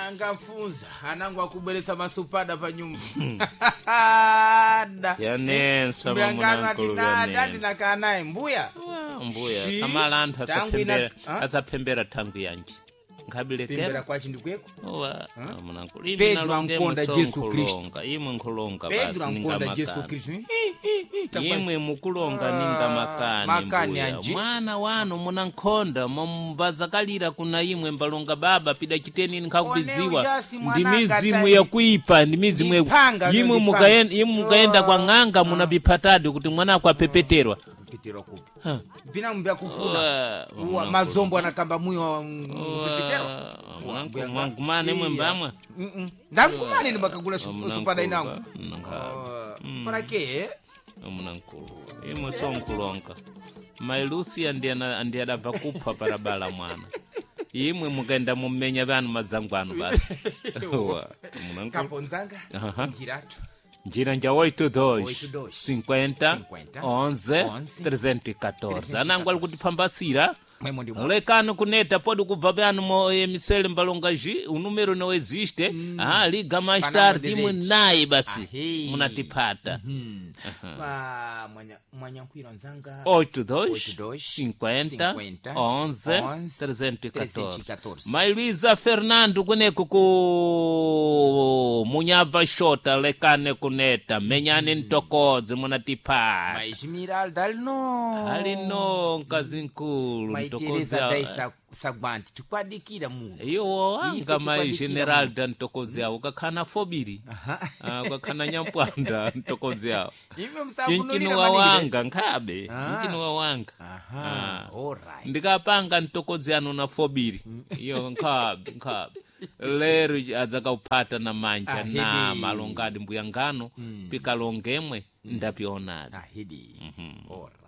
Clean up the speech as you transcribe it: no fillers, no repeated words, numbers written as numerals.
Angafunza anangu akubweresa masupada pa nyumba da. Yanensa Mbuyangano ati mamunankulu da yanensa. ndinakaa naye mbuya. Wa, mbuya Shi, kamala anthu tangu ina- asaphembera Ah? asaphembera thangu yanji Pembera nkhabilekera kwachi ndikweko. Owa, munankulu imi Pedro nalonge ankonda muso Jesu Kristu. nkhulonga imwe nkhulonga Pedro basi ankonda Jesu ningamakani Kristu. Hi, hi, hi, takwachi. imwe mukulonga ninga makani makani mbuya. anji. Mwana wanu munankhonda mumbazakalira kuna imwe mbalonga baba pida chiteni nkhakubiziwa One ujasi ndi mwana mizimu akatai. yakuipa ndi mizimu Ndiphanga, imwe ndiphanga. imwe mukaenda kwa ng'anga munapiphatadi kuti mwana ako apepeterwa. Kupitira kupi. Ha. Pina mbya kufuna. Owa, Uwa, mazombo anakamba muyo mpepetero. mwangumane imwe mbamwa. Ndankumane ndimakagula Omunankhulu supada inangu. ba, mnankhulu. Parake. Omunankulu imwe sonkulonga mailusia ndi adabva kupha parabala mwana imwe mukaenda mumenya vanu mazangu anu basi. Wa, munankulu. Kaponzanga. Aha. Njiratu. Njira nja 8 2 8 2 50 50 11 11 314 anangu ali kutipambasira. Mwemo ndi mwa. Lekani kuneta podi kubva pyanu mo emisele mbalonga ji unumero no existe ah liga mais Panamo tarde imwe delete. naye basi Ahe. munatipata. Ma mwanya mwanyankwira nzanga. 8 2 2 50 50 11 11 314. 314. Mai Luisa Fernando kuneko ku munyabva shota lekane kuneta menyani ntokodzi munatipata. Maizmiralda alino. Alino mkazi mkulu Maitereza mtokozi dai sagwanti tikwadikira muno. Iwo Ife anga mai tikwadikira Generalda ntokozi awo kakhana fobiri. Ah, kakhana nyampwanda ntokozi awo. Ime Chinchini msakunulira wa maningire. wanga nkhabe mchini wa wanga. Aha, Ah. alright. Ndikapanga ntokodzi anu na fobiri iyo nkhabe nkhabe lero adzakauphata na manja Ahidi. na malongadi mbuya ngano pikalongemwe ndapionadi. Ahidi. Alright.